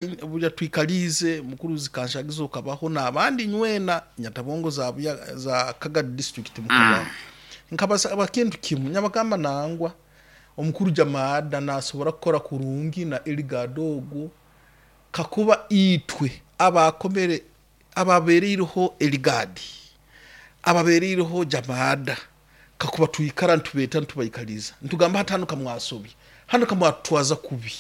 Burya twikaliize mukuru Zikanshagiza okabaho n'abandi nywena nyatabongo za Buya za Kagadi district mukabaho. Nkabasaba kintu kimu nyabagamba nangwa omukuru Jamaada nasobora kukora kurungi na Eligard ogwo kakuba itwe abakomere ababereireho Eligard ababereireho Jamaada kakuba twikara nitubeeta nitubaikaliza nitugamba hati hanu kamwasobya hanu kamwatutwaza kubi.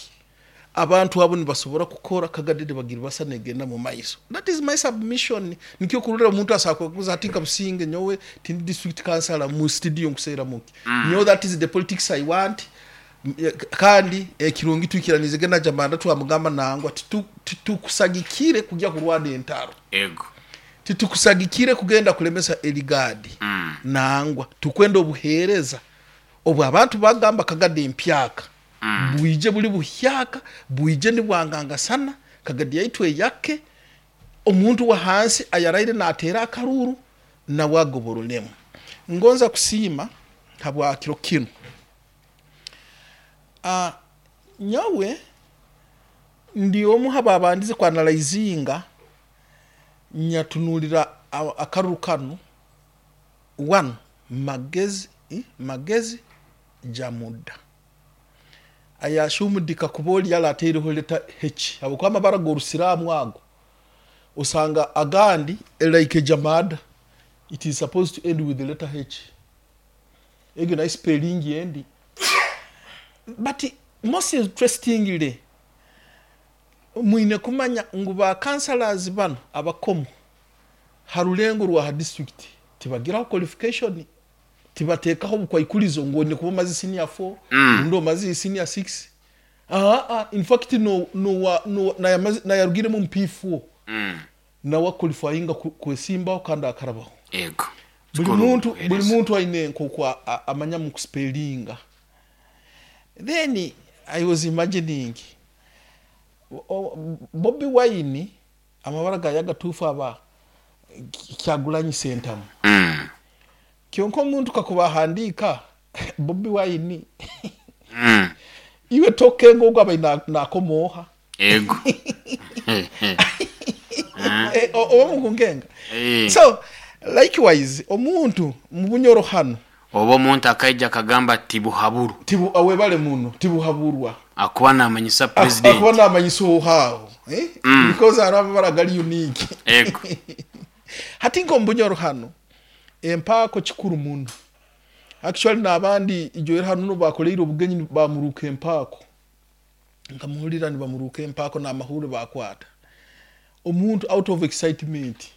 Abantu abo nibasobora kukora Kagadi nibagiribasa negenda mu maiso. That is my submission. Nikyo okurorera omuntu asobola kukaguza hati nka Businge nyowe tindi district councillor mu studio nkuseeramu ki? Nyowe that is the politics I want. Kandi ekirungi twikiraniizege na Jamanda twamugamba nangwa titukusagikire kugya kurwana entaro. Ego. Titukusagikire kugenda kulemesa Eligadi. Nangwa tukwenda obuheereza obu abantu bagamba Kagadi empyaka. Bwije buri buhyaka, bwije nibwangangasana, Kagadi yaitu eyake, omuntu w'ahansi ayaraire nateera akaruuru nawe agobororemu. Ngonza kusiima habwa kiro kinu. Nyowe ndi omu h'ababandize ku analyzinga nyatunuulira akaruru kanu, one, Magezi, Magezi Jamuda. Ayashumudika kuba ori yarateireho letter H habwokuba amabara g'orusiraamu ago osanga agandi like Jamada it is supposed to end with the letter H egyo nayo spelling endi but most interestingly mwine kumanya ngu ba councillors banu abakomu ha rurengo rwa ha district tibagiraho qualification. Tibateekaho obukwaikurizo ngu oine kuba omaze senior four rundi omaze senior six. Aa in fact no no no nayamaze nayarugiremu omu P4 nawe aqualifyinga kwesimbaho kandi akarabaho. Ego. Buri Kikuru muntu buri obuheereza. muntu aine nk'oku amanya mu kuspelinga. Then I was imagining Bobi Wine amabara gaye agatuufu aba Kyagulanyi Sentamu. Kyonka omuntu kakuba ahandiika Bobi Wine, iwe tokenga ogu abaire nakoma oha? Ego. Oba mukunkenga? So likewise omuntu mubunyoro hanu. Oba omuntu akaija akagamba tibuhaburu. Tibu, webale muno, tibuhaburwa. Akuba namanyisa president. Akuba namanyisa oha aho because hariho amabara agari unique. Ego. Hati nk'omu Bunyoro hanu, empaako kikuru muno. Actually n'abandi ijoero hanu n'obu baakoreire obugenyi baamuruuka empaako. Nkamuhurira nibamuruuka empaako n'amahuure baakwata. Omuntu out of excitement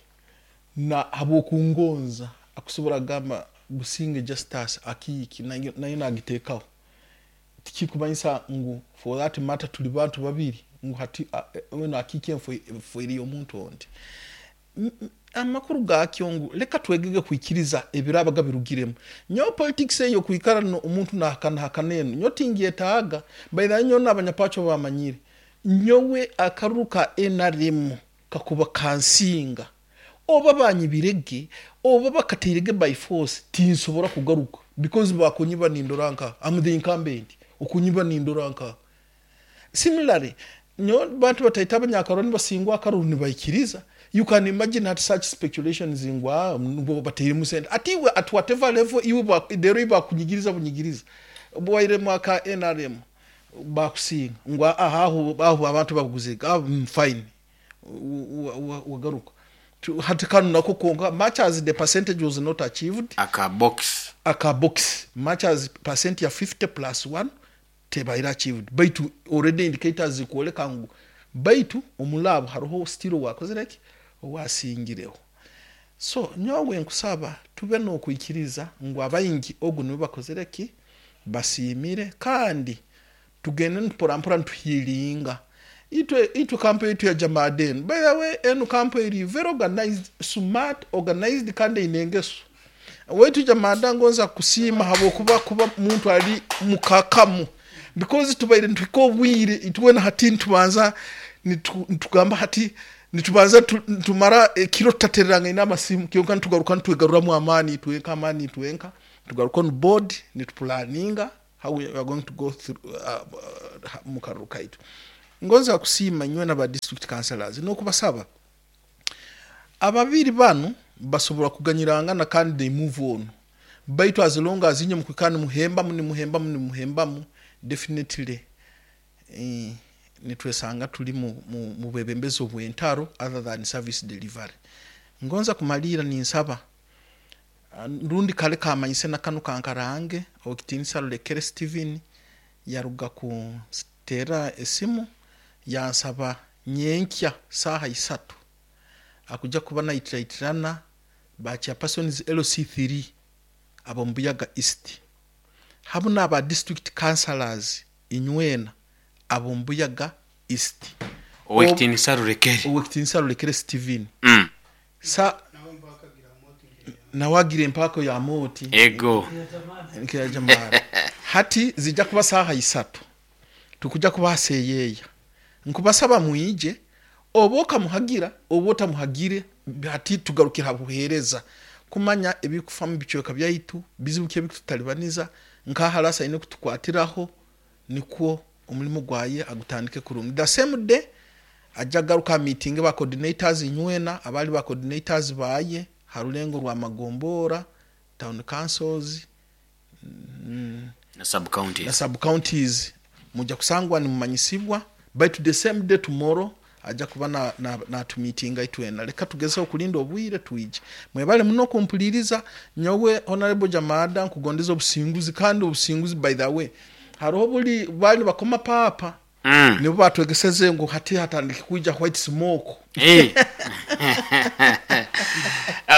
na habw'okungonza akusobora kugamba Businge Justus akiiki nayo naagiteekaho. Tikikumanyisa ngu for that matter turi bantu babiri ngu hati weena akiiki enfoire y'omuntu ondi. Amakuru gaakyo ngu leka twegege kwikiriza ebiraabaga birugiremu. Nyowe politics ey'okwikara omuntu nahakanahakana enu nyowe tingyetaaga. By the way nyowe n'abanyapacho bamanyire, nyowe akaruru ka nrm kakuba kansinga, oba banyibirege oba bakatairege by force tinsobora kugaruka because bakunyiba nindora nkaha, am the incumbent, okunyiba nindora nkaha. Similarly, nyowe bantu bataito abanyakaruru nibasingwa akaruru nibaikiriza, you can imagine hati such speculations ngu aah nibwo batairemu sente. Ati iwe at whatever level iwe reero iwe bakunyigiriza bunyigiriza, obu wairemu aka nrm bakusinga ngu aah aho aho abantu babuguzege aah fine wagaruka. Hati kanu nako kwonka much as the percentage was not achieved, Aka box. Aka box much as percent ya 50 plus one tebaire achieved baitu already indicators zikworeka ngu baitu omuri abo hariho still owakozire ki owasingireho. So nyowe nkusaba tube nokwikiriza ngu abaingi ogu niwe bakozire ki basiimire kandi tugende mporampora nituhiilinga. Itwe itwe camp yaitu ya Jamaada enu by the way enu camp eri very organized, smart, organized kandi eine engeso. Waitu Jamaada ngonza kukusiima habwokuba kuba muntu ari mukakamu because tubaire nituhika obwire itwena hati nitubanza nitugamba hati nitubanza nitumara ekiro tutatererangaine amasimu kyonka nitugaruka nitwegaruramu amaani itwenka amaani itwenka tugaruka on board nitupulaninga how we are going to go through mukaruru kaitu. Ngonza kusiima inywena ba district councillors n'okubasaba ababiri banu basobora kuganyirangana kandi they move on, baitu as long as inywe mukwikara nimuhembamu nimuhembamu nimuhembamu, definitely nitwesanga tuli mu bwebembezi obw'entaro other than service delivery. Ngonza kumaliira ninsaba rundi kale kamanyise na kanu kankarange Owekitinisa Rulekere Steven yaruga kuteera esimu yansaba nyenkya saaha 3 akuja kuba naitiraitirana ba chairpersons LC3 ab'omu Buyaga East hamu n'aba district councillors inywena ab'omu Buyaga East. Owekitinisa Rulekere. Owekitinisa Rulekere Steven. Sa nawe agira empaako ya moti. Ego. Nk'eya Jamara. Hati zija kuba saaha 3 tukuja kuba haseyeeya. Nkubasaba mwije oba okamuhagira oba otamuhagire, hati tugarukira ha buheereza kumanya ebikufa mu bicweka byaitu, bizibu ki ebikututalibaniza, nka harasa aine kutukwatiraho nikwo omulimo gwaye agutandike kurungi. The same day ajja agaruka meeting ba coordinators inywena abali ba coordinators baye ha rulengo rwa Magombora town councils na sub counties, na sub counties mujja kusangwa nimumanyisibwa. Baitu the same day tomorrow ajja kuba natumitinga itwena. Leka tugezeho kulinda obwire twije. Mwebale muno kumpuliriza. Nyowe Honorable Jamada nkugondeza obusinguzi, kandi obusinguzi by the way hariho buli bali bakoma papa nibo batwegeseze ngu hati hatandike kwija white smoke.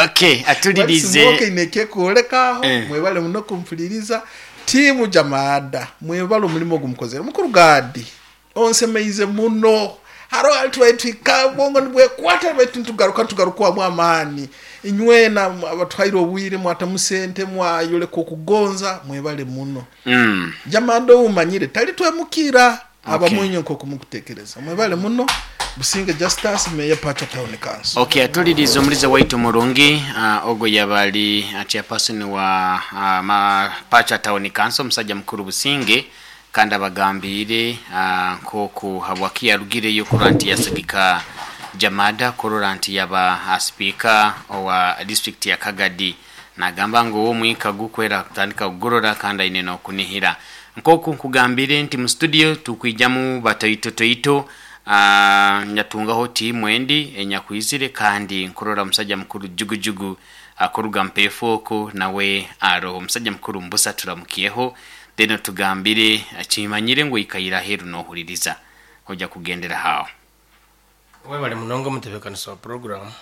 Okay, white atulirize smoke ineke kuolekaho. Mwebale muno kumpuliriza. Timu Jamada, mwebale omulimo ogumukozere. Mukuru Gadi onsemeize muno. Haro alitwaitwika bongo nibwekwata, baitu nitugaruka tugarukwamu amaani. Inywena abatwaire obwire mwatamu sente mwayoleka okugonza, mwebale muno. Jamada owumanyire tali twemukira abamwenye nk'oku mukutekereza. Mwebale muno. Businge Justus, Mayor Pacha Town Council. Okay, atulirize omulize waitu murungi, ogwo yabali chairperson wa Pacha Town Council, omusajja mukuru Businge, kandi abagambire nkoku habwaki yarugireyo kurora nti yasagika Jamada kurora nti yaba speaker owa district ya Kagadi. Nagamba ngu omwika gukwera kutandika kugorora kandi aine n'okunihira. Nkoku nkugambire nti mu studio tukwijamu batoito toito, nyatungaho tiimu endi enyakwizire, kandi nkurora omusajja mukuru Jugujugu akuruga mpefu oku nawe aroho. Omusajja mukuru Mbusa, turamukyeho, then tugambire kimanyire ngu ikaira aheru nohuririza ojja kugendera hawo. Webale munonga omutebeekanisa wa puroguramu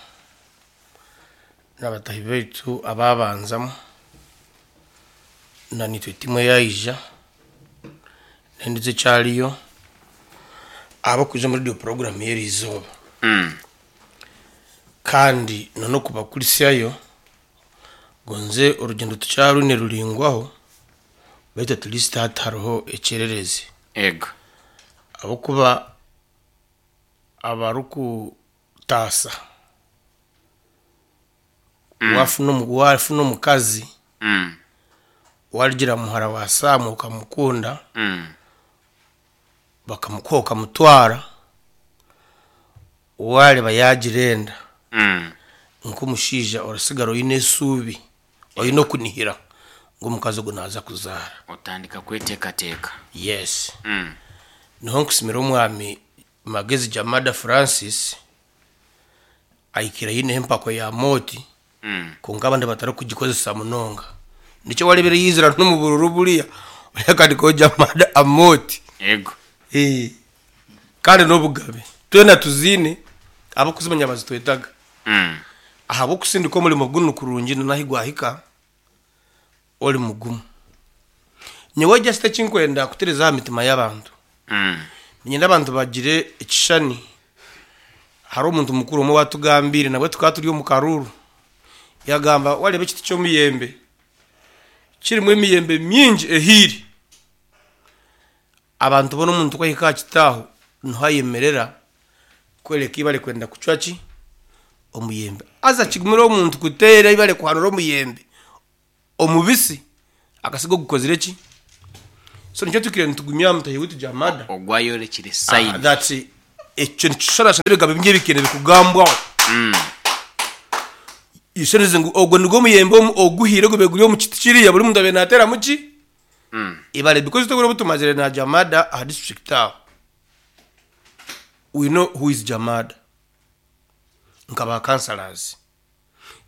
n'abatahi baitu ababanzamu na nitwe timu eyaija nendizo ekyariyo abakuza muri iyo puroguramu y'eri izooba. Kandi nokubakurisyayo gonze orugendo tukyarwine ruringwaho, baitu at least hati hariho ekyererezi. Ego. Ahabwokuba abarikutaasa wafuna omukazi warigira muhara wa Saamu okamukunda, bakamukuha okamutwara, wareba yagira enda, nk'omushaija orasigara oine esuubi, oine okunihira ngu omukazi ogu naaza kuzaara. Otandika kweteekateeka. Yes. Niho nkusimira omwami Magezi Jamada Francis ahikire ayineho empako ya mooti, konka abandi batarikugikozesa munonga. Nikyo warebire yizira n'omu bururu buriya yakandikaho Jamada Amooti. Ego. Kandi n'obugabe twena tuziine, abakuzimanya bazitwetaga ahabw'okusindika omurimo gunu kurungi nahi gwahika ori mugumu. Nyowe just ekinkwenda kutereza aha mitima y'abantu, ninyenda abantu bagire ekishushani. Hari omuntu mukuru omwe watugambire nabwe tukaba turi omu karuru, yagamba wareba ekiti ky'omuyembe kirimu emiyembe mingi ehiire, abantu bona omuntu kwahika aha kiti aho niho ayemerera kwereka ibare kwenda kucwa ki omuyembe, haza kigumire omuntu kuteera ibare kuhanura omuyembe omubisi akasiga ogukozire ki. So nikyo twikire nitugumya mutahi witu Jamada. Ogwo ayorekire sign. That ekyo nikishushanashana n'ebigambo bingi ebikire nibikugambwaho. Ishoneze ngu ogwo nigwo muyembe oguhiire ogube guri omu kiti kiriya buri muntu abaire nateeramu ki? Ibare because itwe obwire obu tumazire na Jamada aha district aho, we know who is Jamada nka ba councillors.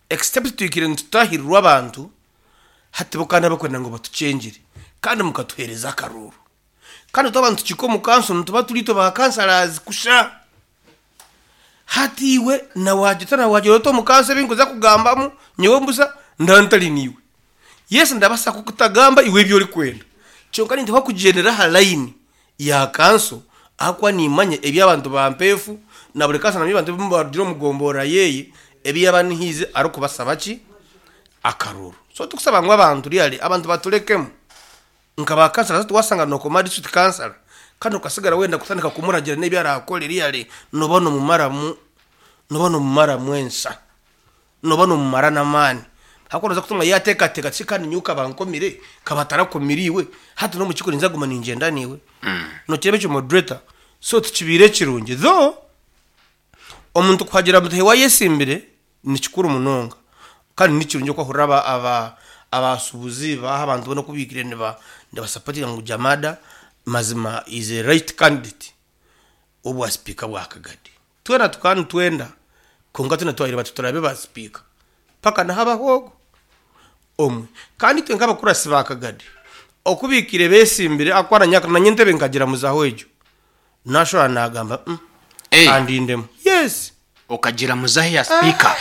Except twikire nitutahirirwa abantu hati bo kandi abakwenda ngu batukyengire kandi mukatuhereza akaruuru. Kandi twaba nitukiika omu kanso nituba turi itwe ba councillors kusha. Hati iwe na wagira ota na wagira ota omu kanso ebi nkuza kugambamu nyowe mbusa ndaba ntari niiwe. Yes ndabasa kukutagamba iwe ebi orikwenda kyonka ninteekwa kugyendera aha line ya kanso ahakuba nimanya ebi abantu ba Mpeefu na buri kanso namanya abantu abu barugire omu gomborora yeye ebi yaaba anihiize arikubasaba ki? Akaruuru. So tikusaba ngu abantu really abantu baturekemu. Nka ba kansala hati wasanga nokoma district kansala kandi okasigara wenda kutandika kumuragira n'ebi arakore really noba nomumaramu noba nomumaramu ensa. Noba nomumara n'amaani. Ahakuba noza kutunga yateekateeka ati shi kandi nyowe kaba nkomire kaba atarakomire iwe hati n'omukiiko ninza kuguma ningyenda naiwe. Nokireeba ekyo moderator? So tikibaire kirungi though omuntu kuhagira mutaahi we ayesimbire Ni kikuru munonga kandi ni kirungi okwahurira aba aba abasuubuzi baaha abantu boona oku baikire niba nibasapotinga ngu Jamada mazima is a right candidate w'obwa sipiika bwa Kagadi. Twena tukaba nitwenda kwonka twena twagira bati turabe ba sipiika paka nihabaho ogwo omwe. Kandi itwe nk'abakurasi ba Kagadi oku baikire beesimbire ahakuba nanye nanye entebe nkagira muzaho egyo Nashura nagamba umm Hey. kandindemu. Yes. Okagira muzaho ya speaker.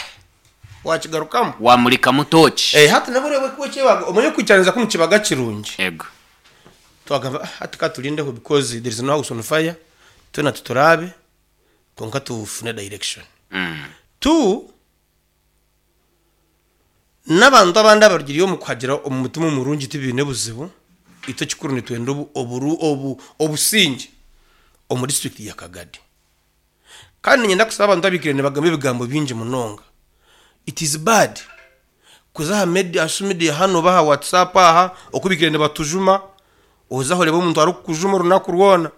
Wakigarukamu. Wamurikamu tooki. Eh hati nabwo oreeba oku ekyebaga omanye okwikiraniza kunu kibaga kirungi. Ego. Twagamba ah hati katurindeho because there is no house on fire twena tituraabe kwonka tufune direction. Two N'abantu abandi abarugire omu kuhagira omu mutima omurungi tibaine buzibu, itwe ekikuru nitwenda obusingye omu disiturikiti ya Kagadi. Kandi niinyenda kusaba abantu abaikire nibagamba ebigambo bingi munonga, it is bad kuza aha media, aha social media hanu oba aha WhatsApp aha oku baikire nibatujuma, oze aha oreebe omuntu arikukujuma orunaku rwona.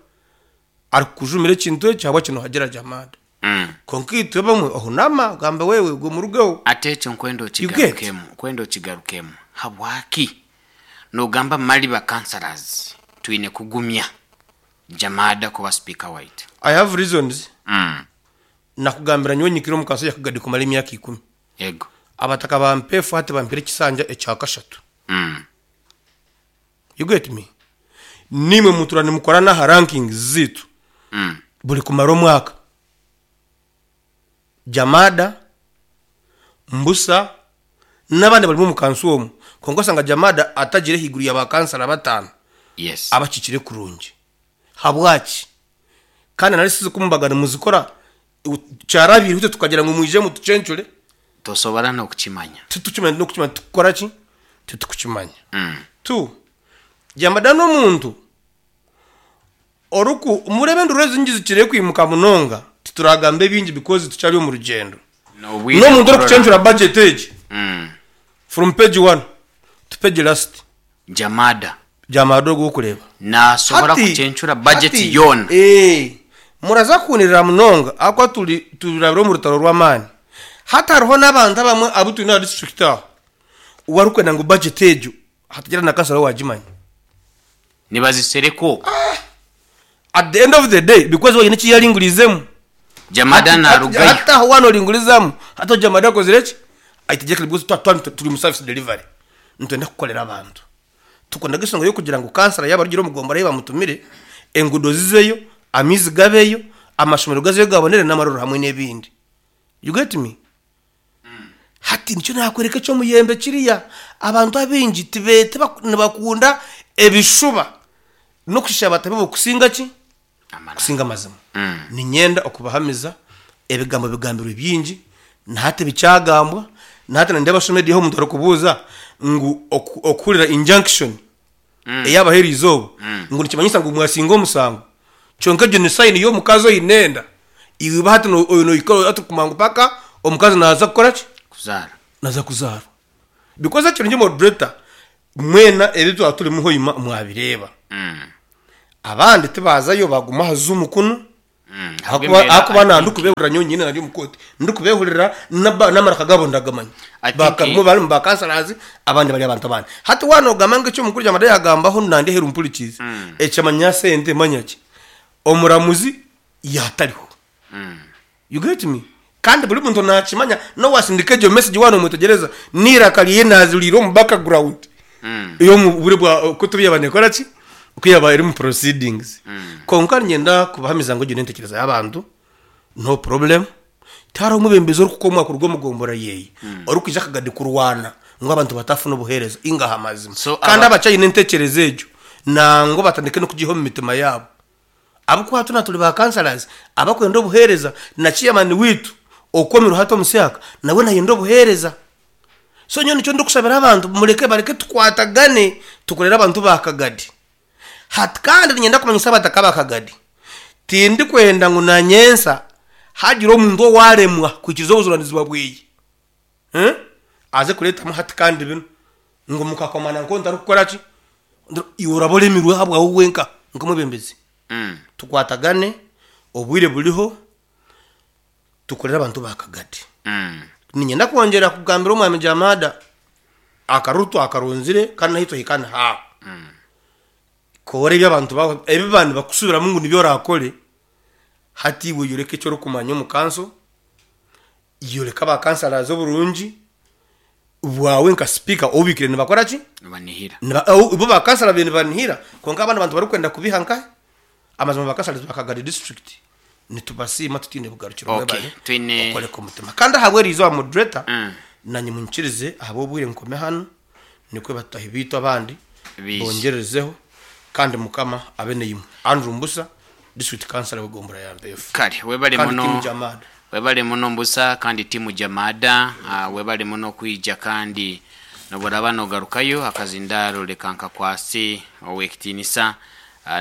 Arikukujumira ekintu eki ahabwaki nohagira Jamada. Kwonka itwe abamwe ohunama ogamba wewe gwe murugeho. Ati ekyo nkwenda You get? okigarukemu, nkwenda okigarukemu. Habwaki nogamba mali ba councillors twine kugumya Jamada kuba speaker waitu? I have reasons. Nakugambira nyowe nyikire omu kanso ya Kagadi kumara emyaka ikumi. Ego. Abataka ba Mpeefu hati bampire ekisanja ekya kashatu. You get me? Naimwe mutura nimukora n'aha rankings zaitu buri kumara omwaka. Jamada, Mbusa n'abandi abarimu omu kanso omu. Kwonka oshanga Jamada atagire ahaiguru ya ba kansara bataano Yes. abakiikire kurungi. Habwaki? Kandi nari sizi ku mubaga nimuzikora kyarabiireho itwe tukagira ngu mwije mutucencure. Tosobora n'okukimanya. Titukimanya n'okukimanya titukukora ki? Titukukimanya. Tu, Jamada n'omuntu oriku, mureebe enduru ezi nyingi zikire kwimuka munonga, tituragamba ebingi because tukyari omu rugyendo. N'obwire N'omuntu kurora. orikucencura budget egi from page one to page last. Jamada. Jamada ogu orikureeba. Naasobora Hati, kucencura budget hati, yoona. ee, muraza kuhunirira munonga ahakuba turi turabire omu rutaro rw'amaani. Hati hariho n'abantu abamwe abu twine aha district aho owarikwenda ngu budget egyo hatagira na kansara owaagimanya. Nibazisereka okwo. At the end of the day because we haine eki yaringuriizemu. Jamada Hati, hati, naarugayo. hati aho waaba nooringurizamu hati aho Jamada akozire ki? Aitegyekire because twa twa turi omu service delivery. Nitwenda kukorera abantu. Tukundaga enshonga y'okugira ngu kansara yaaba arugire omu gombora ei bamutumire, enguudo zizeyo, amaizi gabeyo, amashomero gazeyo gabonere n'amarwariro hamwe n'ebindi. You get me? Hati nikyo naakworeka eky'omuyembe kiriya. Abantu abaingi tibe tiba nibakunda ebishuba n'okushisha batabi bo kusinga ki? Amananu. Kusinga amazima. Niinyenda okubahamiza ebigambo bigambirwe bingi na hati bikyagambwa, na hati nindeeba social media ahu omuntu arikubuuza ngu oku okuhurira injunction eyaabaho eriizooba ngu nikimanyisa ngu mwasinga omusango. Kyonka egyo ni sign y'omukazi oine enda. Iwe iba hati no nohika hati kumanya ngu paka omukazi naaza kukora ki? Kuzaara. Naaza kuzaarwa. Because ekirungi moderator, Mwena ebi twaba turimu hoima mwabireeba. Abandi tibaazayo baaguma aha zoom kunu. Ahakuba Ahabw'embeera ahakuba I na think ndikubehurira nyowe nyine nari omu kooti ndikubehurira naba n'amaraka gaabo ndagamanya. I think Bakabamwe bari mu ba councillors abandi bari abantu abandi. Hati waaba noogamba ngu eki omukuru Kyamada yaagambaho nandi aheeru mpurikiize, ekimanya sente manya ki? Omuramuzi yaatariho. You get me? Kandi buri muntu naakimanya n'owaasindika egyo message waaba noomwetegyereza n'eiraka rye naaziriire omu background ey'omu bwire bwa oku turi yaaba neekora ki? Oku yaaba eri omu proceedings. Kwonka niinyenda kubahamiza ngu egyo n'entekyereza y'abantu, no problem. Tihariho omwebembezi orikukomwa kuruga omu gombora yeeye orikwija akagadi kurwana ngu abantu batafuna obuheereza inga aha mazima. So Kandi aba abakyaine entekyereza egyo nangwa batandike n'okugiiha omu mitima yaabo. Ahabw'okuba twena turi ba councillors abakwenda obuheereza na chairman waitu okomirwe hati omu syaka nawe nayenda obuheereza. So nyowe nikyo ndikushabira abantu mureke bareke tukwatagane tukorere abantu ba Kagadi. Hati kandi niinyenda kumanyisa abataka ba Kagadi, tindikwenda ngu na nyensa hagire omuntu owaremwa kuhikiiriza obujunaanizibwa bweye. Aze kureetamu hati kandi binu ngu mukakomana nkoku ntarikukora ki? Iwe oraba oremirwe ahabwawe wenka nk'omwebembezi. Tukwatagane, obwire buriho, tukorere abantu ba Kagadi. Niinyenda kwongyera kugambira Omwami Jamada, akaruru twakaronzire kandi n'ahu twahika nihaaho. Kora ebi abantu ba ebi baba nibakusubiramu ngu nibyo orakore, hati iwe yoreka eki orikumanya omu kanso, Yoreka ba councillors oburungi bwawe nka speaker ou obiikire nibakora ki? Nibanihira. Niba ou bo ba councillor babaire nibanihira kwonka abandi bantu barikwenda kubiha nkahe? Amazima ba councillors ba Kagadi district nitubasiima tutaine bugarukiro Okay, mwebare twine okworeka omutima. Kandi ahabw'eriizooba moderator Mm. nanye munyikirize ahabw'obwire nkome hanu nikwo batahi baitu abandi Baije. bongyerezeho kandi mukama abe naimwe. Andrew Mbusa, district councillor w'egombora ya Mpeefu. Kale webale Kandi muno team Jamada. Webale muno Mbusa kandi team Jamada webale muno kwija kandi noboraba nogarukayo akazindaaro leka nkakwase owekitinisa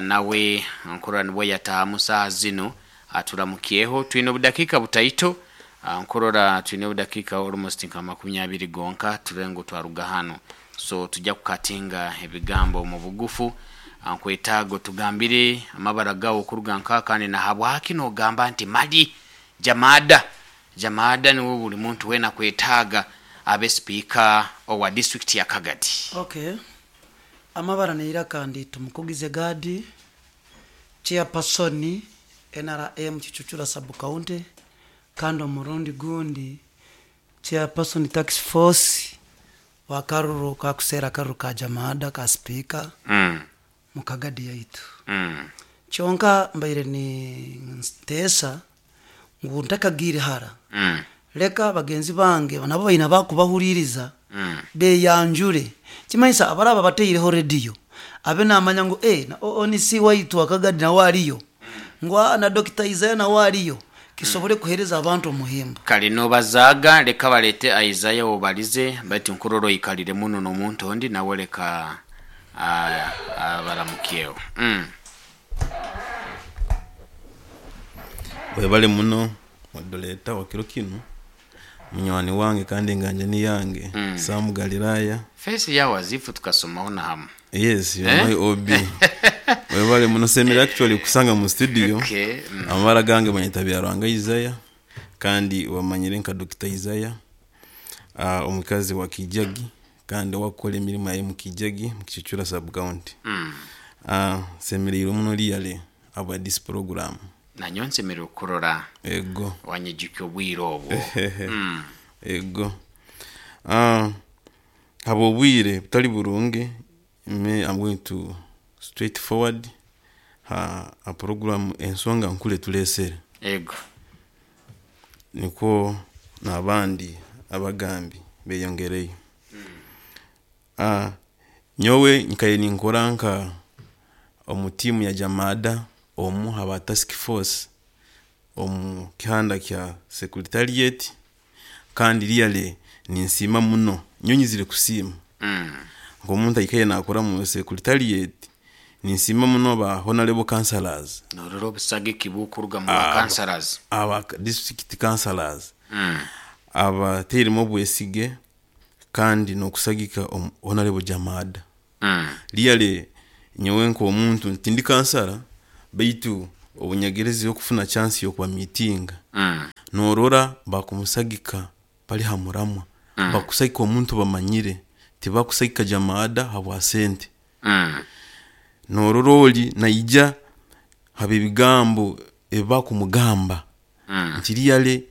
nawe nkurora nibwo yatahamu saaha zinu aturamukyeho twine obudakiika butaito nkurora twine obudakiika almost nka makumi abiri gonka turebe ngu twaruga hanu so tujja kukatinga ebigambo omubugufu nkwetaaga otugambire amabara gawe okuruga nkaha kandi nahabwaki nogamba nti mali Jamada Jamada niwe buri muntu weena akwetaaga abe sipiika owa disiturikiti ya Kagadi. Ok, amabara neiraka ndi Tumukugize Gadi, Chairperson NRM Kichuchura Sub County kandi omurundi gundi Chairperson Tax Force wa karuru kakuseera akaruru ka Jamada ka sipiika mu Kagadi yaitu. Kyonka mbaire ninteesa ngu ntakagiire hara, leka bagenzi bange nabo baine abakubahuriiriza beyanjure. Kimanyisa abaraba bataireho rediyo abe namanya ngu eh, na ONC waitu wa Kagadi nawe ariyo, ngu aa na Dokita Isaiah nawe ariyo, kisobole kuheereza abantu omuhimbo. Kare nobazaaga leka balete Isaiah obalize baitu nkurora oikalire muno nomuntu ondi nawe leka abaramukyeho. Webale muno moderator wa kiro kinu, munywani wange kandi enganjani yange Sam Galilaya. Face yawe azifu tukasomaho na hamu. Yes, you are Eh? my OB. Webale muno semere actually kusanga mu studio. Okay. Amabara gange banyeta Byaruhanga Isaiah kandi wamanyire nka Dr. Isaiah. Omukazi wa Kijagi kandi owakukora emirimo yaye mu Kijagi mu Kicukiro sub county. Nsemereirwe muno really ahabwa this program. Nanyowe nsemereirwe kukurora Ego. wanyijukya obwire obwo. Ego. Habw'obwire butari burungi, me I'm going to straight forward ha ha program ensonga nkuru etureesere. Ego. Nikwo n'abandi abagambi beyongereyo. Nyowe nkaire ninkora nka omu tiimu ya Jamada omu ha ba task force omu kihanda kya secretariat kandi really ninsiima muno. Nyowe nyizire kusiima nk'omuntu aikaire nakora omu secretariat ninsiima muno ba honorable councillors. Norora obusagiki bukuruga mu ba councillors. Aba district councillors abateiremu obwesige. kandi n'okusagika Honourable Jamada. Really nyowe nk'omuntu tindi kansara baitu obunyagerezireho okufuna chance y'okubamiitinga, norora bakumusagika bari ha muramwa, bakusagika omuntu bamanyire, tibakusagika Jamada habwa sente. Norora ori naija habw'ebigambo ebi bakumugamba nti really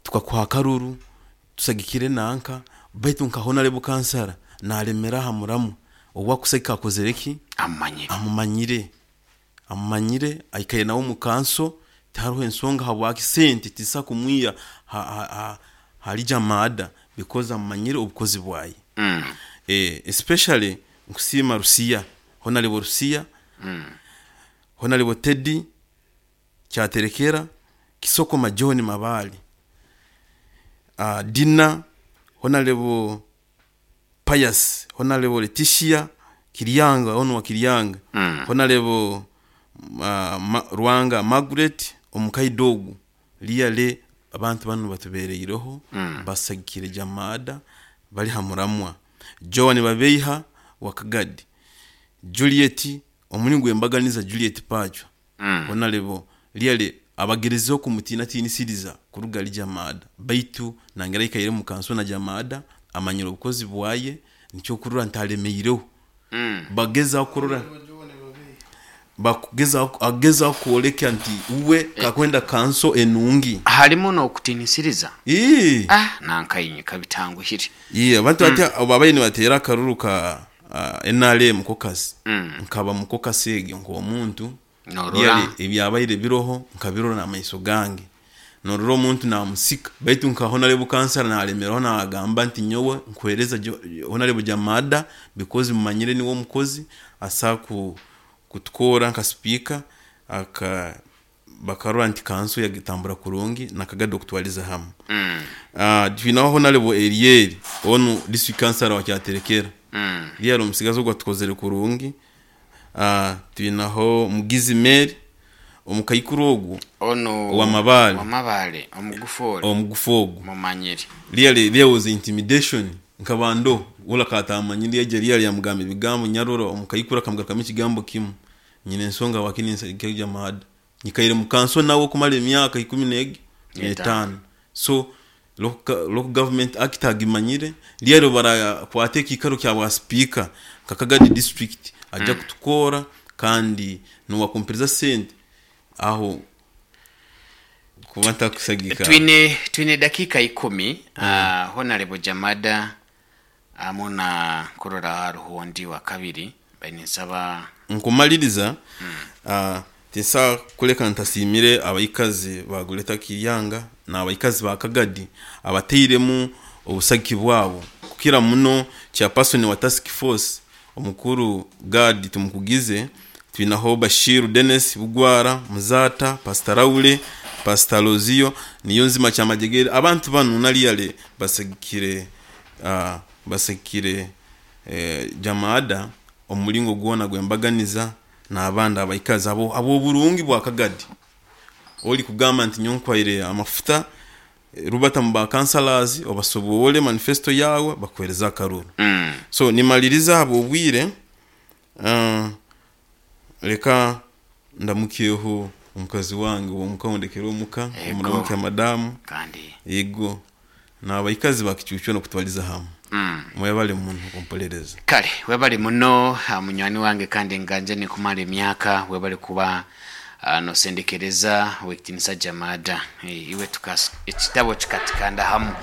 tukakuha akaruru tusagikire nanka baitu nka Honourable Kansara naremera aha muramwa ou akusagika akozire ki? Amumanyire. Amumanyire. Amumanyire aikaire nawe omu kanso tihariho ensonga habwaki sente tizisobola kumwiha ahari Jamada because amumanyire obukozi bwaye. Especially nkusiima Rusiya, Honourable Rusiya, Honourable Teddy Kyaterekera, Kisokoma John Mabaale, Dina, Honourable Pius, Honourable Letitia Kiryanga, onu wa Kiryanga, Honourable Rwanga Margaret omukaidi ogu really abantu banu batubereireho basagikire Jamada bari ha muramwa. Joan Babeiha wa Kagadi, Juliet omuri gwembaganiza Juliet Pachwa Honourable really abagerezeho kumutiinatiinisiriza kuruga ahari Jamada baitu nangera aikaire omu kanso na Jamada amanyire obukozi bwaye nikyo okurora nti aremeireho. Bagezaho kurora bakugezaho agezaho kworeka nti uwe kakwenda kanso enungi. Harimu n'okutiinisiriza? Ii. Ah nankainye kabitanguhire. Ii abantu hati obu babaire nibateera akaruru ka NRM caucus nkaba mu caucus egyo nk'omuntu Norora. Really ebyabaire biroho nkabirora n'amaiso gange. Norora omuntu namusika baitu nka Honourable Kansara nalemeraho nagamba nti nyowe nkuhereza Honourable Jamada because mumanyire niwe omukozi asobola kutukora nka sipiika aka bakarora nti kanso yagitambura kurungi na Kagadi okutwariza hamwe. Twinaho Honourable Elieri onu district councillor wa Kyaterekera. Really omusigazi ogu atukozire kurungi. Twinaho Mugizi Mary omukaikuru ogu Onu owamabare. Wamabare omugufu ori. Omugufu ogu. Mumanyire. Really there was intimidation nkaba ndoho wona akaba atamanyire yaija really yamugamba ebigambo nyarora omukaikuru akamugarukamu ekigambo kimu nyine ensonga habwaki ninsagika Jamada. Nyikaire mu kanso nawe okumara emyaka ikumi n'egi n'etaano. So local government act agimanyire really barakwata ekiikaro kya bwa sipiika nka Kagadi district aja kutukoora kandi niwakumpereza sente aho kuba ntakusagika. Twine twine dakiika ikumi Honarebo Jamada hamu na kurora hariho ondi wa kabiri mbaire ninsaba. Nkumaliriza, tinsobola kuleka ntasiimire abaikazi ba Greater Kiryanga n'abaikazi ba Kagadi abatairemu obusagiki bwabo kukira muno chairperson wa task force omukuru Gad Tumukugize, twinaho Bashiru Dennis Bugwara, Muzaata, Pastor Raule, Pastor Lozio, Niyonzima Kyamajegere. Abantu banu naliyale basagikire basagikire Jamada omu muringo gwona gw'embaganiza n'abandi abaikazi abo ab'oburungi bwa Kagadi. Ori kugamba nti nyowe nkwaire amafuta rubata mu ba councillors obasoboore manifesto yaawe bakuheereze akaruru. So nimaliriza ahabw'obwire reka ndamukyeho omukazi wange ow'omuka ou ndekere omuka, Ego. omuramukye madamu. Kandi. Ego. N'abaikazi ba Kicuucu n'okutwariza hamwe. Mwebale muno kumpolereza. Kale webale muno munywani wange kandi nganje nikumara emyaka webale kuba nosendekereza wekitinisa Jamada. Iwe tukas ekitabo kikatikanda hamu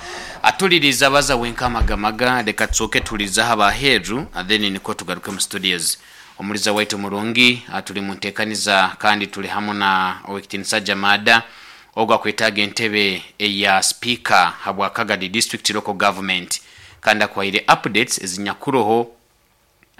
atuliriza baza wenka amagamaga reka tusooke tulizaho abaheeru then niko tugaruke mu studios. Omuliza waitu murungi tuli mu nteekaniza kandi tuli hamu na owekitinisa Jamada ogu akwetaaga entebe eya speaker habwa Kagadi district local government kandi akuhaire updates ezinyakuroho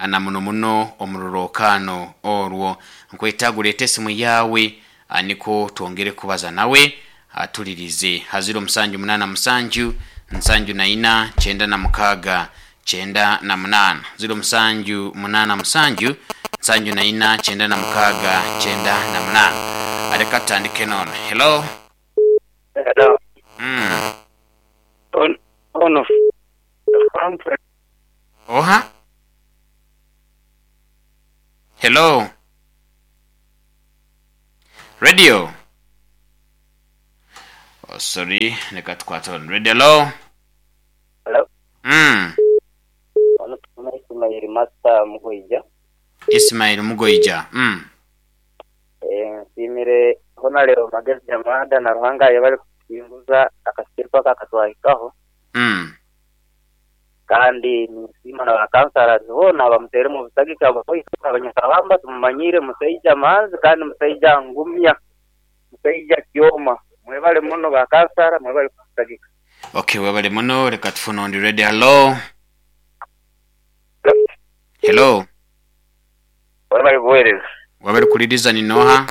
na muno muno omu rurookaano orwo. Nkwetaaga oreete esimu yaawe nikwo twongere kubaza nawe atulirize ha ziro musanju munaana musanju nsanju na ina 96 98 07 87 74 96 98. Reka tutandike nono. Hello. Hello. On, on of Frankfurt. Hello. Radio. Oh, sorry, leka tukwate ono. Radio, hello. Hello. Mm. Ono tufuna Ismail Master Mugoija. Ismail Mugoija. Nsiimire Honarebo Magezi Jamada na Ruhanga ayebare kutuhinguza akasiriku aka akatwahikaho. Kandi ninsiima na ba councillors boona abamuteiremu obusagika bwaitu abanyakabamba tumumanyiire musaija manzi kandi musaija ngumya, musaija kyoma. Mwebale muno ba kansara mwebale kutusagika. Okay, webale muno leka tufune ondi ready. Hello. Hello. Webale buweereza. Webale kuliriza ni noha?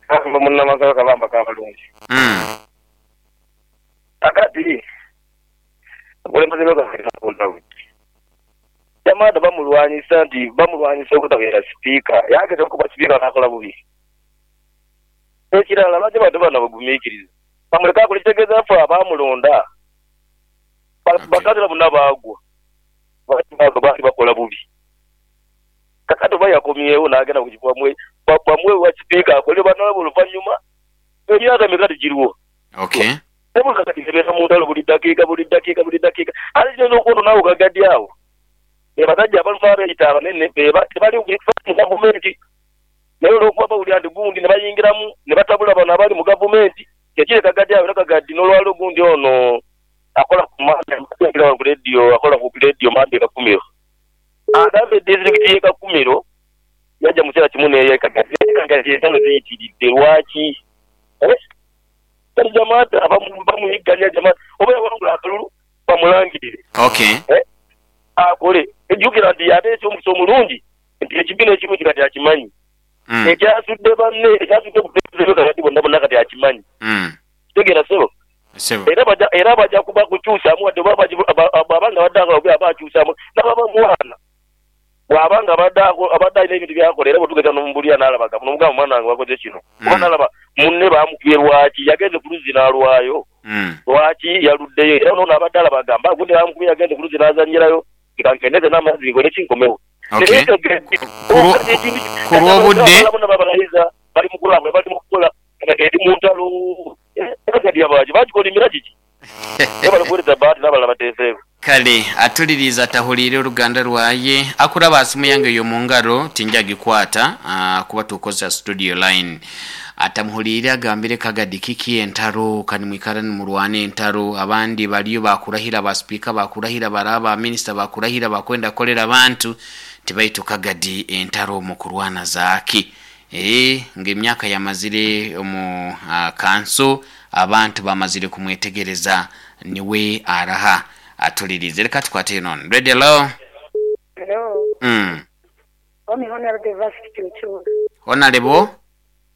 Kamba munnamagaba kabamba kabalungi. Akati obukulembeze bwekakunda buti. Jamaada bamulwanyisa nti bamulwanyisa obutabeera sipiika yageza okuba sipiika nakola bubi. Ekirala lwaki abantu bano bagumiikiriza bamuleke akole kitegeeza ffe abamulonda bakansala bonna baagwa lwaki bakola bubi. Kakati oba yakomyewo nagenda bamuwe obwa sipiika akole banalaba oluvanyuma emyaka emeka tegiriwo. Okay. Kakati ebeera mu ntalo buli dakiika buli dakiika buli dakiika ate kiyinza okwonona awo kagadi awo be basajja abaluma abeeyita abanene tebali mu gavumenti naye olw'okuba bawulira nti gundi ne bayingiramu ne batabula bano abali mu gavumenti kyekiri kagadi awo era kagadi n'olwaliro gundi ono akola ku Mande ku leediyo akola ku leediyo Mande Kakumiro agambye disitulikiti y'e Kakumiro yajja mu kiseera kimu n'eye Kagadi naye Kagadi entalo ziyitiridde lwaki? Kati Jamada bamuyigganya Jamada oba yawangula akalulu bamulangirire. Okay. Akole ejjukira nti ate eky'omukisa omulungi nti ekibi n'ekirungi kati akimanyi. Ekyasudde banne ekyasudde obukulembeze kati bonna bonna kati akimanyi. Kitegeera ssebo? Era era baja kuba kukyusaamu wadde oba bw'aba nga abadde akola bubi aba akyusaamu n'ababa mwana bw'aba nga abadde abadde alina ebintu by'akola era bw'otugeza n'omubulira n'alaba n'omugamba mwana wange wakoze kino oba n'alaba munne baamukubye lwaki yagenze ku luzzi n'alwayo lwaki yaluddeyo era n'ono abadde alaba agamba gundi baamukubye yagenze ku luzzi n'azannyirayo leka nkendeze n'amazzi nkole ki nkomewo. Okay. Ku lw'obudde bali mu kulambula bali mu kukola eri mu ntalo bagikolimira kiki bali kuweereza Bahati n'abalala bateeseeko. Kale atuliriiza atahuliire oluganda lwaye akuraba simu yange eyo mu ngaro tinja gikwata kuba tukozesa studio line atamuhuliire agambire Kagadi kiki entaro kani mwikara nimurwana entaro abandi bariyo bakurahira ba sipiika bakurahira baraba ba minisita bakurahira bakwenda kukorera abantu tibaitu Kagadi entaro mukurwana zaaki nga emyaka yamazire omu kanso abantu bamazire kumwetegereza niwe araha atulirize reka tukwate none ready hello. Hello. Omi Honorable Evasiti Kiuchura. Honorable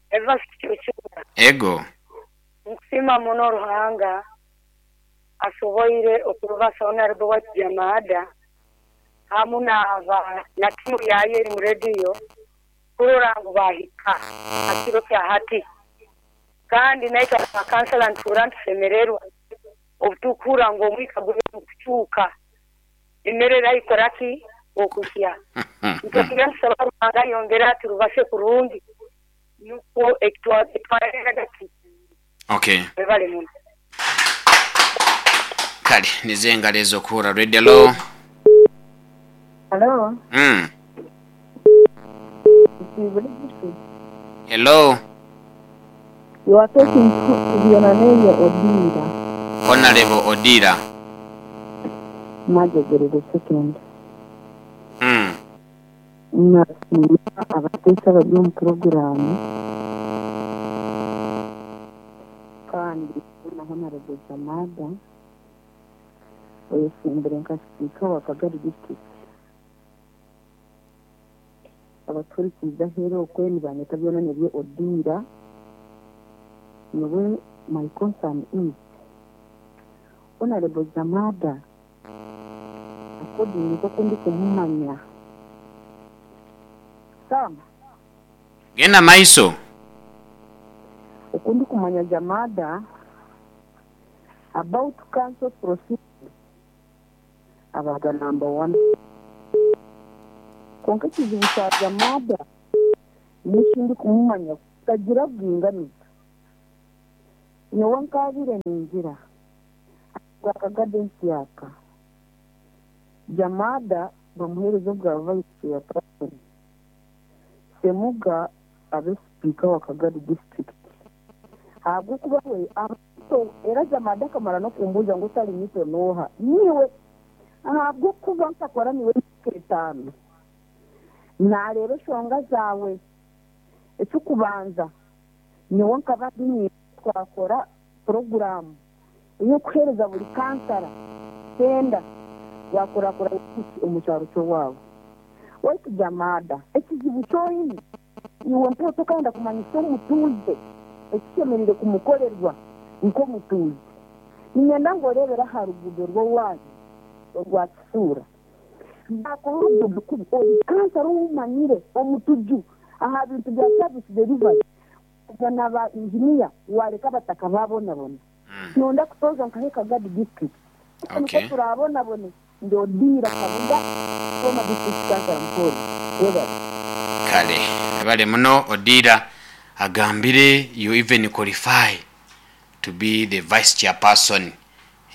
Evasiti Kiuchura. Ego. Nkusima muno Ruhanga asoboire okurubasa Honorable wa Jamada hamu na timu yaye eri mu radio kurora ngu bahika akiro kya hati kandi naitwe abakansala ntuura ntusemererwa obutukura ngu omwika guri kukyuka emere erayikora ki okusya nitugira ntusaba Ruhanga ayongere aturubase kurungi nukwo ekitwareraga ki. Okay. Webale muno. Kale nize engalo ez'okuhura radio hello. Hello. Hello. You are talking to Bionaneya Odira. Honorable Odira. Majogere the second. Nasiima abateesa abari omu puroguraamu kandi na Honorable Jamada oyesimbire nka sipiika wa Kagari district. Abaturikiza aheeru okwe nibanyeta Bionaneya Odira. Niwe my concern is Honorable Jamada according nk'oku ndikumumanya Sam. Genda maiso. Oku ndikumanya Jamada about council proceedings abaga number 1. Kwonka ekizibu kya Jamada n'ekindikumumanya tagira bwinganiza. Nyowe nkaabaire ningira ahabwa kagadensi aka, Jamada bamuheereze obwa Vice Chairperson, Ssemuga abe Sipiika wa Kagadi District ahabw'okuba we aba muto era Jamada akamara n'okumbuuza ngu otari muto n'oha? Niiwe! Ahabw'okuba nkakora naiwe emyaka etaano, naareeba eshonga zaawe. Eky'okubanza, nyowe nkaba ndi niiwe twakora puroguraamu ey'okuheereza buri kansara tenda yaakurakuranya omu kyaro ky'owaabo. Waitu Jamada, ekizibu ki oine, iwe mpaho tokayenda kumanyisa omutuuze ekishemereire kumukorerwa nk'omutuuze. Niinyenda ngu oreebere aha ruguudo rw'owaanyu orwa Kisuura. Baakora oruguudo kubi, ori kansara ou omanyire, omutuju aha bintu bya service delivery, waija na ba inginiya waareka abataka baabonabona. Nonda kutooza nkahe Kagadi district. Nikwo Okay. turaabonabone. Ndi Odiira Kabuga, former district councillor Mukono. Webale. Kale webale muno Odiira agambire you even qualify to be the vice chairperson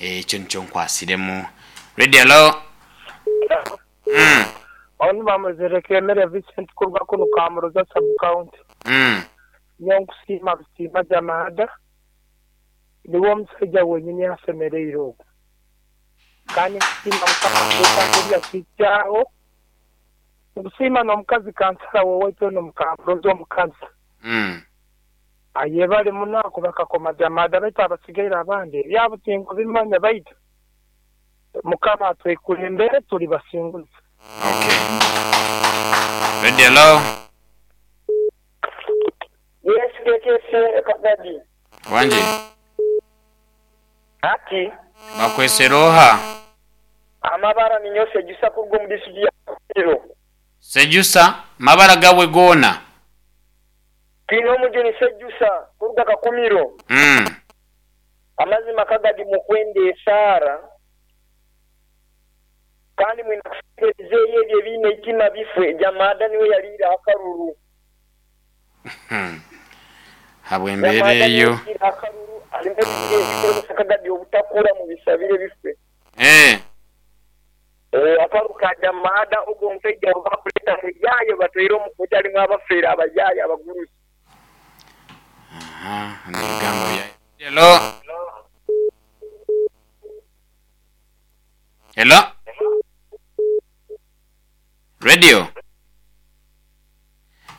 ekyo nikyo nkwasiremu. Radio hello. Onu bamuzireka Emere Vincent kuruga kunu Kamuroza sub county. Nyowe nkusiima busiima Jamada niwe omusaija wenyini asemereire ogu. Kandi nkusiima Mukama kureeta nk'obu yakihikyaho. Nkusiima n'omukazi kansara w'owaitu onu Mukamuroza omukazi. Ayebare muno ahakuba akakoma Jamada baitu abasigaire abandi ebyabo tinkubimanya baitu Mukama atwekulembere turi basinguzi. Okay. Radio hello. Yes KKC Kagadi. Wangi. Hati. Bakwesera oha? Amabara ninyowe Sejusa kuruga omu disiturikiti ya Kakumiro. Sejusa, mabara gawe goona? Twine omujuni Sejusa kuruga Kakumiro. Amazima Kagadi mukwenda esaara kandi mwine kusabira ebizeeyi ebyo ebiine eitima bifwe. Jamada niwe yariire akaruru. Habw'embeera Jamada niwe eyo. yariire akaruru harimu ebizeeyi ebirikuremesa Kagadi obutakura mubisabire bifwe. Akaru ka Jamada ogwo omusaija obu bakureeta abayaaya obatwaire omu kooti harimu abafeere abayaaya abagurusi. Aha, n'ebigambo bya Hello. Hello. Radio.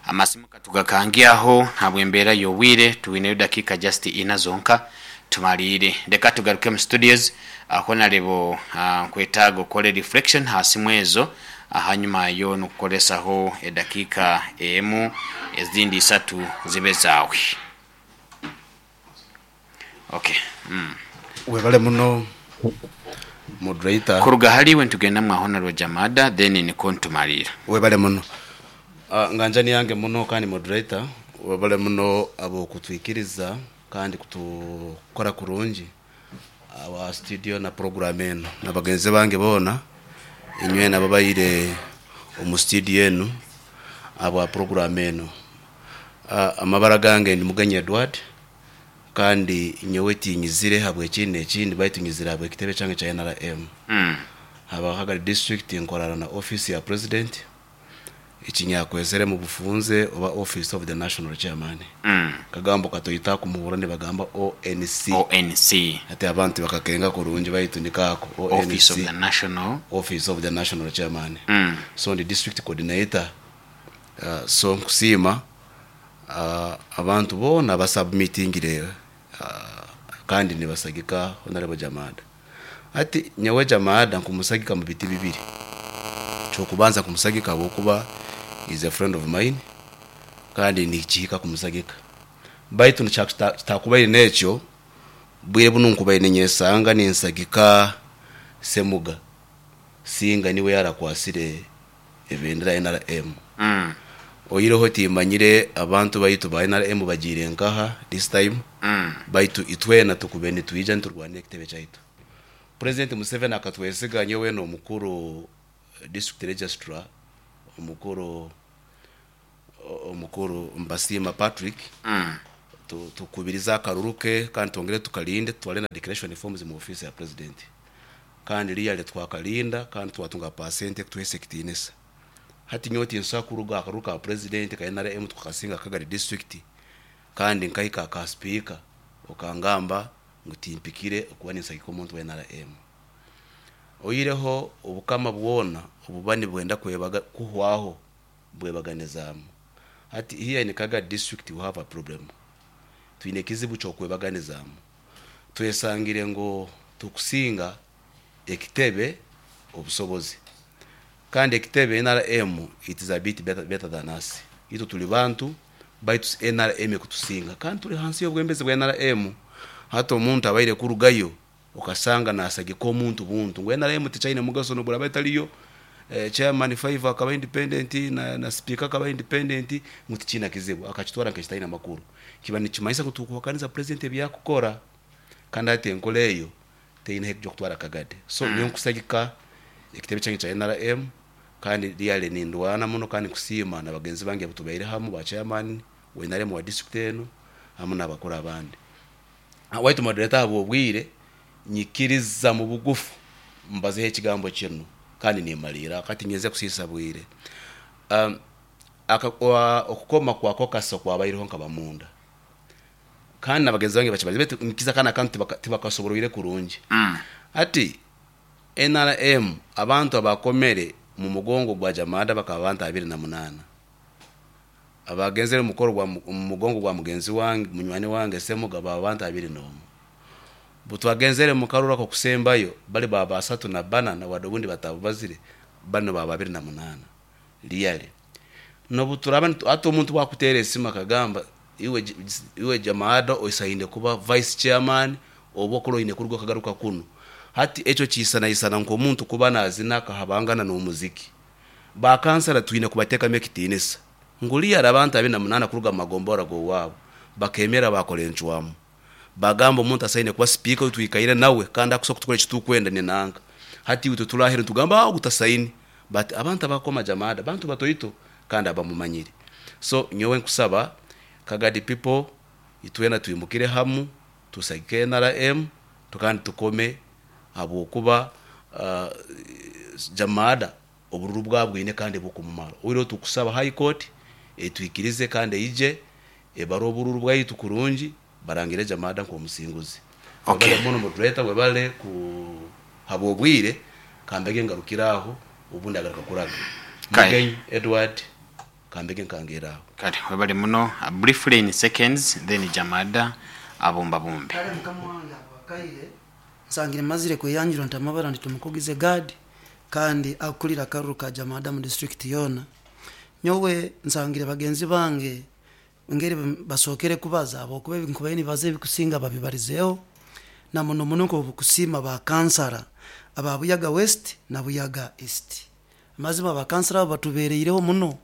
Amasimu katugakange aho ahabw'embeera y'obwire twineyo dakiika just ina zonka tumariire. Leka tugaruke mu studios Honarebo nkwetaaga okore reflection aha simu ezo ahanyuma yo nokukoresaho edakiika emu ezindi isatu zibe zaawe. Okay. Webale muno moderator. Kuruga hali iwe nitugenda mwa Honarebo Jamada then nikwo nitumariira. Webale muno. Nganjani yange muno kandi moderator webale muno abokutwikiriza kandi kutukora kurungi aha studio na program enu na bagenzi bange boona inywena ababaire omu studio enu ahabwa program enu. Amabara gange ndi Mugenyi Edward kandi nyowe tinyizire ahabw'ekindi n'ekindi baitu nyizire ahabw'ekitebe kyange kya nrm. Haba Kagadi district nkorana na office ya president. Eki nyakwezere mu bufunze oba Office of the National Chairman. Akagambo katoito aku muhurra nibagamba ONC. ONC. Hati abantu tibakakenga kurungi baitu niko ako, Office of ONC, the National. Office of the National Chairman. So ndi district coordinator. So nkusiima abantu boona abasubmitingire kandi nibasagika Honourable Jamada. Hati nyowe Jamada nkumusagika mu biti bibiri. Eky'okubanza nkumusagika ahabw'okuba he is a friend of mine kandi nikihika kumusagika. Baitu kitakubaire n'ekyo, bwire bunu nkubaire ninyesanga ninsagika Ssemuga singa niwe yarakwasire ebendera ya nrm. Oihireho timanyire abantu baitu ba nrm bagiire nkaha this time, baitu itwena tukube nitwija niturwanira ekitebe kyaitu. President Museveni akatwesiga nyowe n'omukuru district registrar omukuru omukuru Mbasiima Patrick tukubirize akaruru ke kandi twongere tukarinde tutware na declaration forms mu office ya president kandi really twakarinda kandi twatunga percent ekutuheesa ekitiinisa. Hati nyowe tinsobola kuruga aha karuru ka president ka NRM tukakasinga Kagadi district kandi nkahika aka sipiika okangamba ngu timpikire okuba ninsagika omuntu wa NRM. Oihireho obukama bwona obuba nibwenda kwebaga kuhwaho bwebaganizaamu. Hati here in Kagadi district we have a problem. Twine ekizibu ky'okwebaganizaamu. Twesangire ngu tukusinga ekitebe obusobozi. Kandi ekitebe nrm it is a bit better, better than us. Itwe turi bantu baitu nrm ekutusinga kandi turi hansi y'obwembezi bwa nrm. Hati omuntu abaire kurugayo okasanga nasagika omuntu buntu ngu nrm tikyaine mugaso nobweraba etariyo chairman five akaba independent na, na speaker akaba independent ngu tikiina kizibu akakitwara nk'ekitaine makuru. Kiba nikimanyisa ngu tukuhakaniza president ebyakukora kandi hati enkora eyo teine ahu ekuja kutwara Kagadi. So nyowe nkusagika ekitebe kyange kya nrm kandi really nindwana muno kandi nkusiima na bagenzi bange abu tubaire hamu ba chairman wa nrm wa district enu hamu nabakuru abandi. Waitu moderator ahabwobwire nyikiriza mubugufu mbazeho ekigambo kinu kandi nimaliira aho tinyeze kusiisa bwire. Okukoma kwa kokasa okwabaireho nkaba munda kandi na bagenzi bange bakimanyire baitu nikiza kanu akantu tibakasoboroire kurungi. Hati nrm abantu abakomere mumugongo gwa Jamada bakaba bantu 28. Abagenzere omu mukoro gwa omu mugongo gwa mugenzi wange munywani wange Semuga baba bantu 21. Butwagenzere mu karuru ak'okusembayo bali baba 34 na wade obundi batabubazire banu baba 28. Really nobuturaba nitu hati omuntu bwakutera esimu akagamba iwe iwe Jamada osaine kuba vice chairman oba okora oine kuruga okagaruka kunu hati ekyo kisanaisana nk'omuntu kuba nazina akahabangana n'omuziki. Ba kansara twine kubatekamu ekitiinisa. Ngu really abantu 28 kuruga mu magombora g'owaabo bakemera baakora encwamu. Bagamba omuntu asaine kuba sipiika ou twikaire nawe kandi akusobola kutukora eki tukwenda ni nanka. Hati itwe turi aheeru nitugamba ogu tasaine but abantu abakoma Jamada bantu batoito kandi abamumanyire. So nyowe nkusaba Kagadi people itwena twimukire hamu tusagike nrm kandi tukome ahabw'okuba Jamada obururu bwabwine kandi bukumumara. Oihireho tukusaba High Court etwikirize kandi eije ebare obururu bwaitu kurungi barangire Jamada nk'omusinguzi. Okay. Webale muno moderator, webale kuhabwa obwire, kambege ngarukire aho obundi agaruka kuraga. Kale. Mugenyi Edward kambege nkangeere aho. Kale webale muno. Briefly in seconds then Jamada abumbabumbe. Kale mukama wange ahabw'akaire nsangire mazire kweyanjura nti amabara ndi Tumukugize Gad kandi akurira akaruru ka Jamada mu disiturikiti yoona. Nyowe nsangire bagenzi bange engeri basookere kubaza ahabw'okuba ebi nkubaire nibaza ebikusinga babibarizeho na muno muno nk'obukusiima ba kansara aba Buyaga West na Buyaga East. Amazima ba kansara abo batubereireho muno.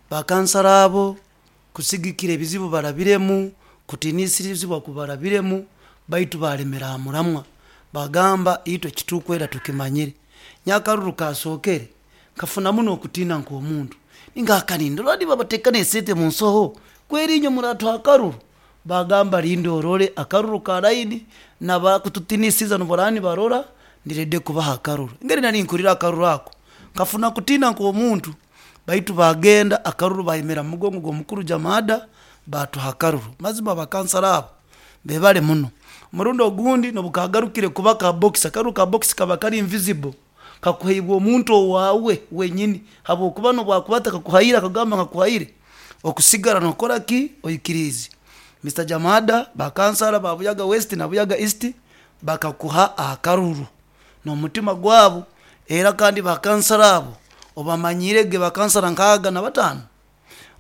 Ba kansara abo kusigikira ebizibu barabiremu, kutiinisirizibwa ku barabiremu, baitu baalemera aha muramwa. Bagamba, Itwe ekitukwenda tukimanyire. Nyakaruru kasookere, nkafunamu n'okutiina nk'omuntu. Ninga nindora nibabateeka n'esente mu nsoho, kweri inywe muratuha akaruru? Bagamba, Linda orore akaruru ka layini, na bakututinisiza niboraba nibarora, ndi rede kubaha akaruru. Engeri nari ninkurira akaruru ako, nkafuna kutiina nk'omuntu. Baitu baagenda akaruru baayemera mu mugongo gw'omukuru Jamada baatuha akaruru. Mazima bakansara abo bebare muno. Omurundi ogundi n'obu kaagarukire kuba ka box, akaruru ka box kaba kari invisible, kakuhaibwa omuntu owaawe wenyini habw'okuba n'obu akuba atakakuhaire akagamba ngu akuhaire, okusigara nookora ki? Oikiriize. Mister Jamada, bakansara ba Buyaga West na Buyaga East bakakuha akaruru. n'omutima gwabo, era kandi bakansara abo obamanyiire ge, bakansara nkaaga na bataano,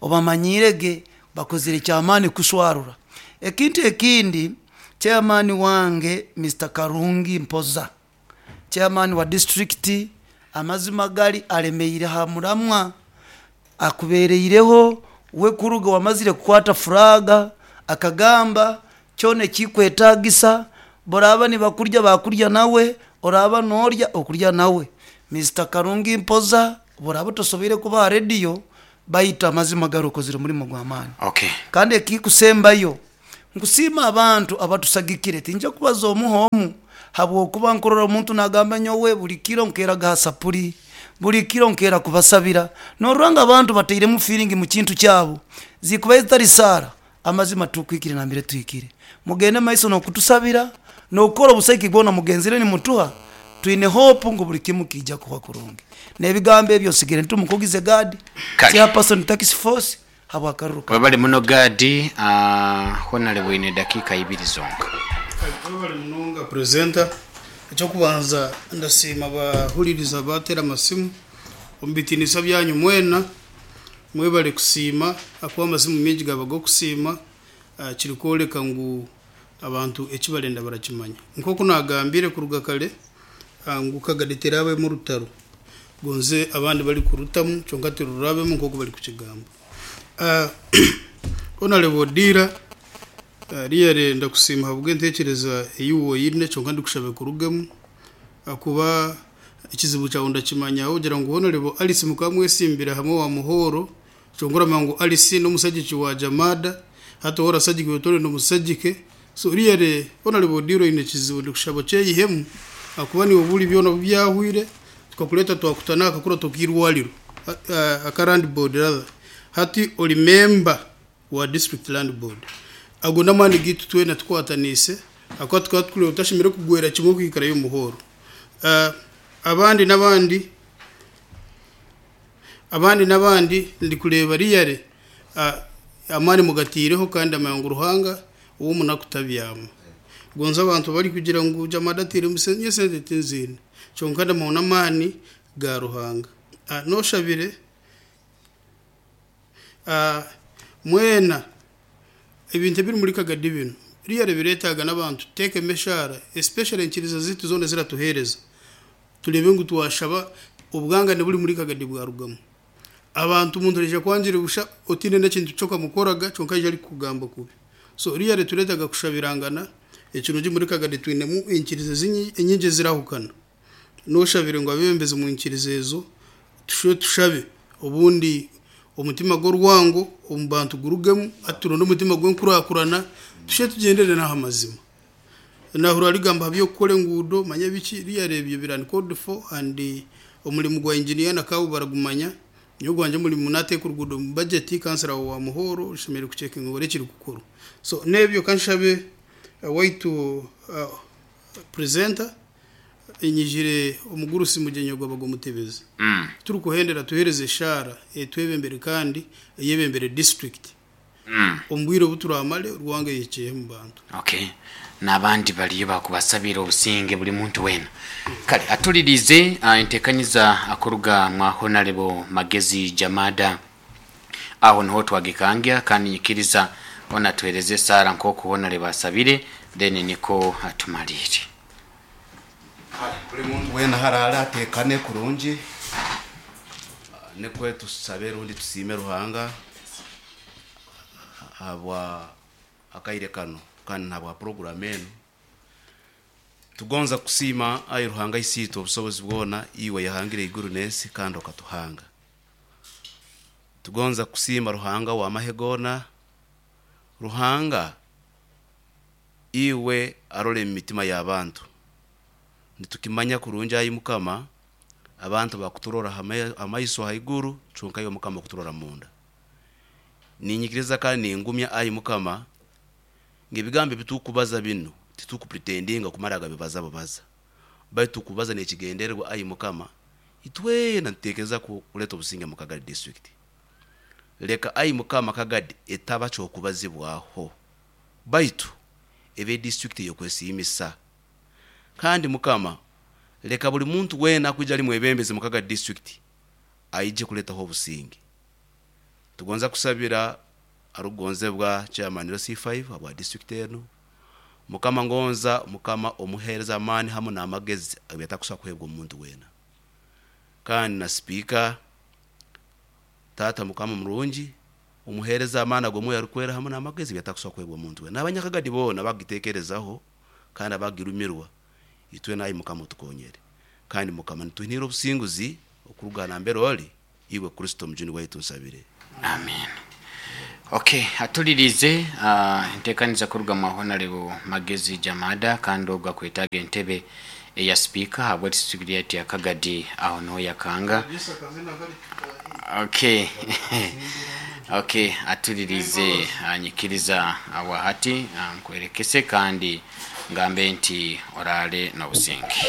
obamanyiire ge, bakozire ky'amaani kushwarura. Ekintu ekindi, chairman wange Mister Karungi Mpoza, chairman wa disiturikiti, amazima gari aremeire aha muramwa, Akubeereireho we kuruga wamazire kukwata furaaga, akagamba, Kyona ekikwetaagisa, boraaba nibakurya bakurya nawe, oraaba noorya okurya nawe. Mister Karungi Mpoza, Obu oraabe otosoboire kuba aha rediyo, baitu amazima gari okozire omurimo gw'amaani. Okay. Kandi ekikusembayo, nkusiima abantu abatusagikire. Tinja kubaza omu h'omu habwokuba nkurora omuntu nagamba nyowe buri kiro nkeeraga ha sapuri, buri kiro nkeera kubasabira. Norora ngu abantu batairemu feeling mu kintu kyabo. Zikubaire zitari saara, amazima titukwikire nambere tuhikire. Mugende maiso n'okutusabira, n'okukora obusaiki bwona mugenzire nimutuha, twine hope ngu buri kimu kiija kuhwa kurungi. N'ebigambo ebyo nsigire ntumukugize Gad, Kale. Chairperson Tax Force, habw'akaruru kanu. Webale muno Gad, Honalebo oine dakiika ibiri zonka. Kale webale munonga presenter. Ekyokubanza ndasiima abahuririza abatera amasimu omu bitinisa byanyu mwena mwebale kusiima ahakuba amasimu mingi gaba g'okusiima kirikworeka ngu abantu eki barenda barakimanya. Nk'oku nagambire kuruga kare ngu Kagadi terabemu orutaro gonze abandi barikurutamu kyonka tirurabemu nk'oku barikukigamba. Honarebo Odira really ndakusiima ahabw'entekyereza ei oine kyonka ndikushaba ekurugemu ahakuba ekizibu kyawe ndakimanya ahabw'okugira ngu Honarebo Alice mukaba mwesimbire hamwe owa Muhoro Kyonka oramanya ngu Alice n'omusagiki wa Jamada, hati ou orasagika iwe torenda omusagike. So really Honourable Odilo oine ekizibu ndikushaba okyeyihemu ahakuba niiwe buri byona obu byahwire tukakureeta twakuta n'aha kakurato k'eirwariro aka land board rather hati ori member wa district land board. Ago n'amaani gaitu twena tukwataniise ahakuba tukaba tukureeba otashemereire kugwera kimwe kwikarayo omu hall. Abandi n'abandi. Abandi n'abandi ndikureeba really amaani mugateireho kandi ndamanya ngu Ruhanga ow'omunaku tabyama. Gonza abantu barikugira ngu Jamada ateiremu sente, nyowe sente tinziine kyonka ndamanya ngu n'amaani ga Ruhanga. Noshabire mwena ebintu ebiri muri Kagadi binu really biretaaga n'abantu tuteekemu eshaara especially enyikiriza zeitu zoona eziratuheereza. Tureebe ngu twashaba obwangane buri muri Kagadi bwarugamu. Abantu omuntu naija kwangira busha otiine n'ekintu ky'okamukoraga kyonka aija arikukugamba kubi. So really tureetaga kushabirangana, ekirungi muri Kagadi twinemu enyikiriza enyingi ezirahukana. N'oshabire ngu abeebembezi omu nyikiriza ezo tushube tushabe obundi omutima gw'orwango omu bantu gurugemu hati turonde omutima gw'enkurakurana tushube tugyendere n'aha mazima. Nahurira arikugamba aha by'okukora enguudo manya biki really ebyo biri uncalled for and omurimo gwa engineer na kabu baragumanya. Nyowe ogwangye omurimo nateeka oruguudo omu budget kansara wa Muhoro oshemereire kucekinga orebe ekirikukorwa. So n'ebyo kanshabe owaitu presenter nyijire omugurusi mugyenyi ogwo abaga omutebezi. Turikuhendera tuhereze eshaara etwebembere kandi eyebembere district. Omu bwire obu turamare, rwango eyekyehe omu bantu. Okay. N'abandi bariyo bakubasabiire obusinge buri muntu weena. Kale atuliriize enteekaniza kuruga mwa Honarebo Magezi Jamada. Aho niho twagikangya kandi nyikiriza hoona atuheereze esaara nk'oku Honarebo asabire then niko tumariire. Kale buri muntu weena aharaare ateekane kurungi, nikwo tusabe rundi tusiime Ruhanga ahabwa akaire kanu kandi n'ahabwa puroguramu enu. Tugonza kukusiima ai Ruhanga Isiitwe obusobozi bwona, iwe ayahangire eiguru n'ensi kandi okatuhanga. Tugonza kukusiima Ruhanga ow'amahe goona, Ruhanga Iwe arora emitima y'abantu. Nitukimanya kurungi ai Mukama, abantu bakuturora ha maiso haiguru, kyonka iwe Mukama okuturora munda. Ninyikiriza kandi ningumya ai Mukama, ngu ebigambo ebi tukubaza binu titukupretendinga kumara gabibaza bubaza, baitu tukubaza n'ekigendererwa ai Mukama, itwena nitutekereza kuleta obusinge mu Kagadi district. Leka ai Mukama Kagadi etaba ky'okubazibwaho. Baitu ebe disiturikiti ey'okwesiimisa. Kandi Mukama, leka buli muntu weena akwija ali mwebembezi mu Kagadi disiturikiti aije kuleetaho obusinge. Tugonza kusabira arukugonzebwa Chairman LC5 habwa disiturikiti enu. Mukama ngonza Mukama omuheereze amaani hamu n'amagezi ebi atakusobora kuheebwa omuntu weena. Kandi na Sipiika, Taata Mukama murungi, Omuheereza amaani ag'Omwoyo Arikwera hamu n'amagezi ebi atakusobora kuheebwa omuntu weena. N'abanyakagadi boona abakugiteekerezaho kandi abakugirumirwa, itwena ayi Mukama otukonyere. Kandi Mukama nituhinira obusinguzi. Okuruga nambere oli, iwe Kristo Omujuni waitu nsabire. Amen. Ok, atulirize entekaniza kuruga mwa Honarebo Magezi Jamada kandi ogu akwetaaga entebe eya sipiika ahabwa disiturikiti ya Kagadi aho niho yakanga. Ok, ok, atulirize nyikiriza habwahati nkwerekese kandi ngambe nti oraale n'obusinge.